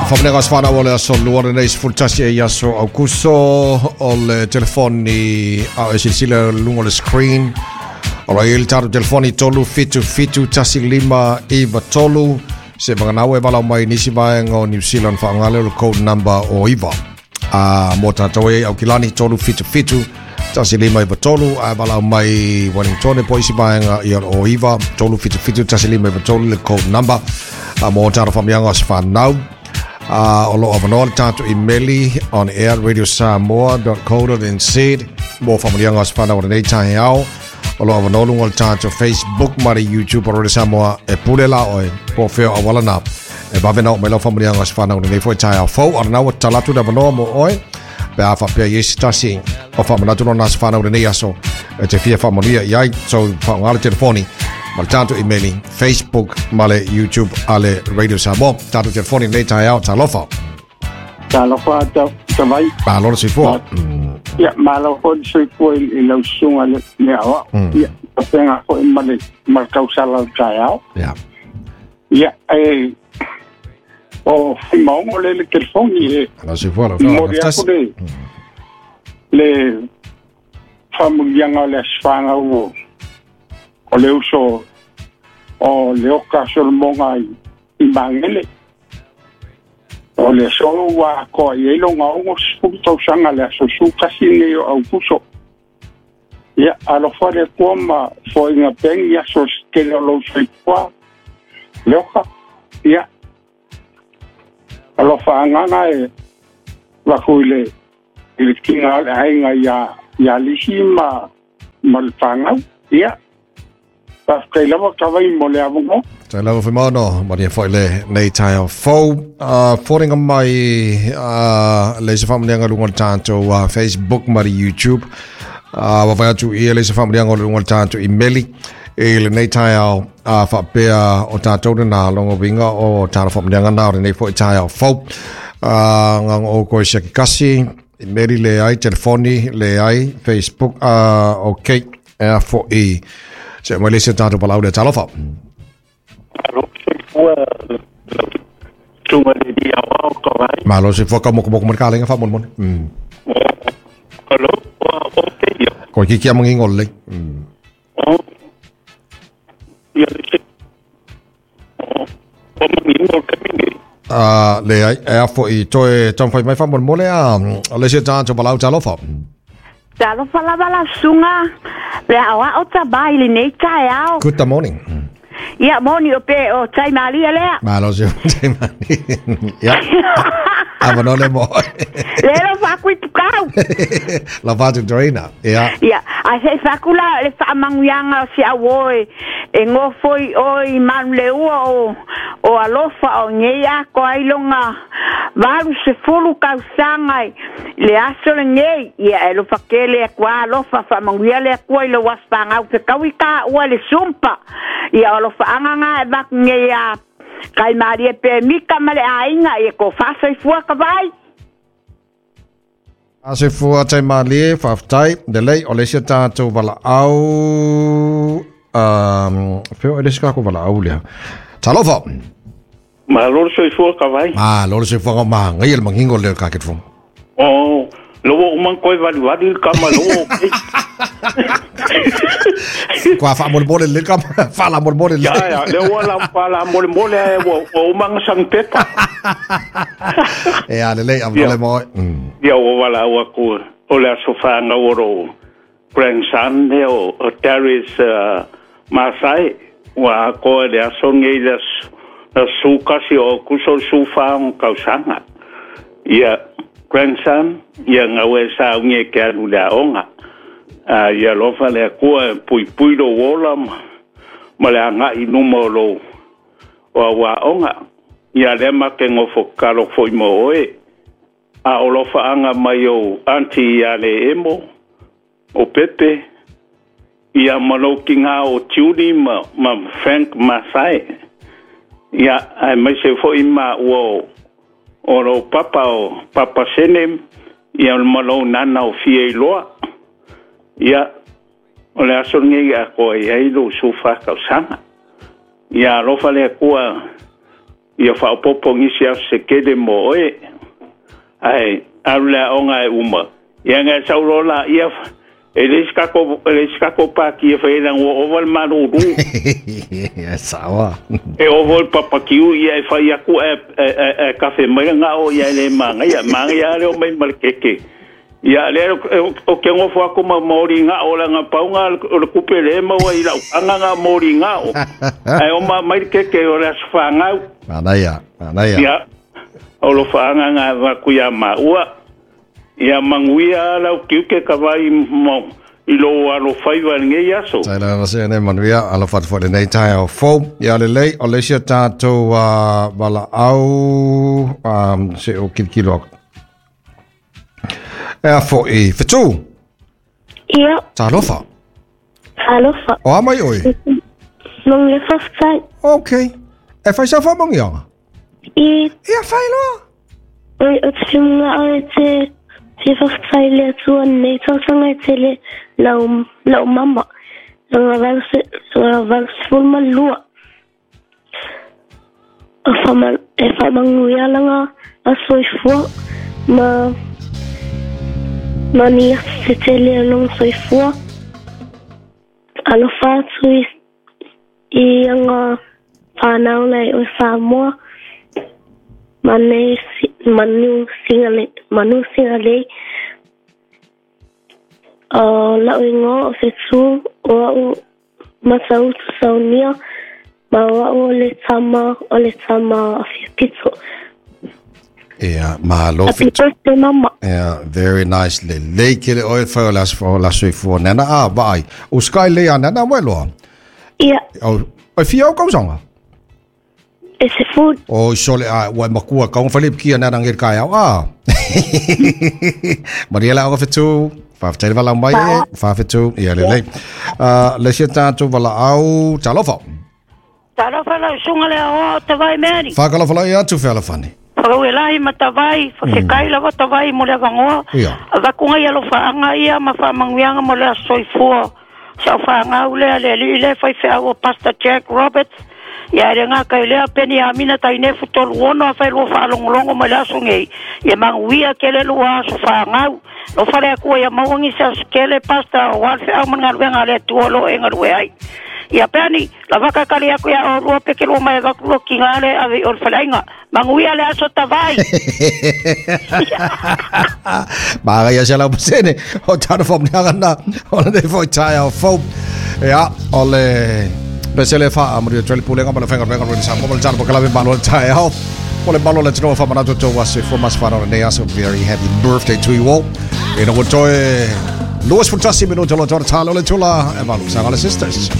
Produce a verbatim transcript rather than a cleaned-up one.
Faamanuiaga o se fanau o le aso lua lenei sefulu tasi ai aso Aukuso o le telefoni a o e silasila luga o le screen. O lo o i ai le tatou telefoni tolu fitu fitu tasi lima iva tolu. Se vaganau e valaau mai nisi vaega o New Zealand faaaoga lea o le code number o iva. A mo tatou e Aukilani tolu fitu fitu tasi lima iva tolu. A valaau mai Wellington po o isi vaega ia o iva tolu fitu fitu tasi lima iva tolu le code number. A mo tatou faamanuiaga o se fanau. Uh, o lo o avanoa le tatou imeli on air radio samoa dot co dot nz mo faamanuiaga o se fanau o lenei taeao. O lo o avanoa luga o le tatou Facebook ma le YouTube o Radio Samoa e pule la oe po o fea o auala na e vave na oo mai lau faamanuiaga o se fanau o lenei foi taeao fou. A lena ua tatala atu le avanoa mo oe pe a faapea i ai se tasi o faamanatu lona aso fanau lenei aso e te fia faamanuia i ai. So faaaoga le telefoni ma le tatou imeli, Facebook ma le YouTube a le Radio Samoa. Tatou telefoni lenei taeao, talofa. Talofa ta vai. Malo le soifua. Ia, malo foi le soifua i lau susuga le le aoao. Ia, faapena foi ma le ma le tausala o le taeao. Ia. Ia, e o Faimaogo le le telefoni e Malo soifua lau momoli atu le le faamanuiaga o le aso fanau o le uso o le Oka Solomoga i, i Magele. O le aso ua atoa i ai loga ogo sefulu tausaga le aso su tasi nei o Aukuso. Ia, alofa le Atua ma foaiga pea ni aso se tele o lou soifua le Oka. Ia, alofa agaga e vaku i le i le tiga o le aiga ia ia Lisi ma ma le fanau. Ia, faafetai lava Kavai mo le avanoa. Tai lava Faimaono, manuia foi le nei taeao fou. Uh, foliga mai uh, le isi faamanuiaga luga o le tatou uh, Facebook ma le YouTube. Uh, ua fai atu ia le isi faamanuiaga o le luga o le tatou imeli i lenei taeao uh, faapea o tatou lena loga uiga o tatou faamanuiaga na o lenei foi taeao fou. Uh, ngaga o koe sia kekasi, imeli le ai, telefoni le ai, Facebook, uh, ok, e foi. Se mai le isi o tatou valaau lea, talofa. Malo soifua lau susuga le alii aoao Kavai. Malo soifua ka mokomoko ma le kalenga faamolemole. Mm. Alo, ua o te ia. Koe kiki a mangingo lelei. Mm. O, ia le se. O, o mangingo le taimi nei. Uh, le ai, e a foi toe taumafai mai faamolemole a o le isi o tatou valaau, talofa. Talofa lava la susuga le aoao Tavai i lenei taeao. Good morning. Ia moni o pe o tai malia lea. Malo se tai malia. Ia. Avanoa le mo. Le lo faku i pukau. La fatu Dorina. Ia. Ia, ai se faku la le faamanuiaga o si au oe e ngofoi oi manu le ua o o alofa o nei ako ai longa valu sefulu tausaga i le aso lenei. Ia e lofa kele Atua alofa faamanuia le Atua i lou aso fanau fekaui ka ua le sumpa. Ia o alofaaga ga e vaku nei a kai malie pe mika ma le aiga ia ko faasoifua ka vai. Asoifua tai malie, faafetai. Lelei, o le isi o tatou valaau. Um, feo e le isi kako valaau lea. Talofa. Malo le soifua Kavai. Malo le soifua ma ngai le mangingo le ka ketfo. O, lowo uman koe valiwali le kama lowo o kei. Kua faamolemole le kama, faalamolemole le. Ya, ya, le ua la faalamolemole ai ua ua umanga sang pepa. E a lelei, avanoa le mo oe. Mm. Ia ua valaau atu o le aso fanau o lou grandson lea o, o Darius uh, Masai, ua atoa i le aso nei le aso le aso kasi o Aukuso le sefulufa o tausaga. Ia grandson, ia gaua e saugi e ke alu i le aoga. A ia alofa le Atua e puipui lou ola ma, ma le agaʻi i luma o lou o au aoga. Ia lea ma te nofo tatalo foi mo oe. A o lofaaga mai ou aunty ia le emo, o Pepe, ia ma lou tiga o Judy ma, ma Frank Masai. Ia, ae maise foi ma ua o, o lou papa o Papa Sene, ia ma lou nana o Fia Iloa. Ia, o le aso lenei atoa i ai lou sefulufa tausaga. Ia alofa le Atua Ia faaopoopo nisi aso se tele mo oe. Ae alu le aoga e uma. Ia na e sau loa laia e leai se tatou e leai se tatou pati e fai ai leaga ua ova le malulu. Sawa. E ovo le papakiu ia e fai atu ae ae ae kafe mai le gao ia e le manaia. Manaia lava le omai ma le keke. Ia lea ou te nofo atu ma moli gao leaga pau na o le tupe lea e maua i lau taga na o moli gao. Ae oma mai le keke o le aso fanau. Manaia, manaia. Ia, o alofaaga na avatu ia maua. Ia manuia lau tiute ka vai mo i lou alofaiva i lenei aso. Tailana na se nei manuia alofa atu foi lenei taeao fou. Ia lelei o le isi o tatou uh, valaau um, se o kilokilo aku. Ea foi Fetu. Ia. Talofa. Talofa. O a mai oe? Nong le whawhtai. Okay. E whai sa whamangianga? I. Ia whai loa. Oi, o te whimunga au e te fia whawhtai le atua nei tausaga e tele lau, lau mama. Langa valu se, langa valu sefulu ma lua. O whama, e whamanguia langa a soifua ma ma ni aso se tele o longa soifua. Alofa atu i, i anga whanau lai o Samoa. Mane manu singale manu singalei o lau ingoa o Fetu o au Matautu Saunia ma o au o le tama o le tama a Fiapito. Ia, malo Happy Fetu. birthday mama. Ia, very nice. Lelei kele oe whai o le aso o la soifua nana. A, vaai. O sky lea nana moe loa. Ia. O, o fia o kausanga? E se food. O sole a ua makua kaunga fale kia nana ngel kai au. Ah. Maria la o fetu. Whawhtai wala mai e. Whawhetu. Ia lelei. Uh, le sia tātou wala au. Talofa. Talofa lau sunga le aoa o Tavai Mary. Whakalofa lai atu whealafani. Whakauelahi ma Tavai, whakekai lava Tavai mo le avangoa. Ia. Avakunga i alofaanga ia ma whaamanguianga mo le aso soifua. Sa o whaangau lea le alii lea faifeau o Pastor Jack Roberts. Ia e le ngaka i lea peni amina tainefu tolu ono a whailua whaalongolongo mai le aso ngei. Ia manguia kele lua aso whaangau. Lo whale akua ia mauangi se aso kele Pastor o wal wheau man ngaluenga le atua lo e ngalue ai. Ia peni, la waka kali aku ia o lua peke lua mai vaku lua ki ngā le ave o le whalainga. Manguia le aso Tavai. Maga ia se lau pasene o tana fomniaga na o le nei foi tae au fou. Ia, o le pesele fa a maria trele pulenga ma le whenga renga rene sa mo le tana pokalawe malo le tae au. O le malo le tinoa whamanatu tō wase fo mas whanau nei aso. Very happy birthday to you all. E na toe Luas Funtasi minuta lo tōra tālo le tula e malu sanga le sisters.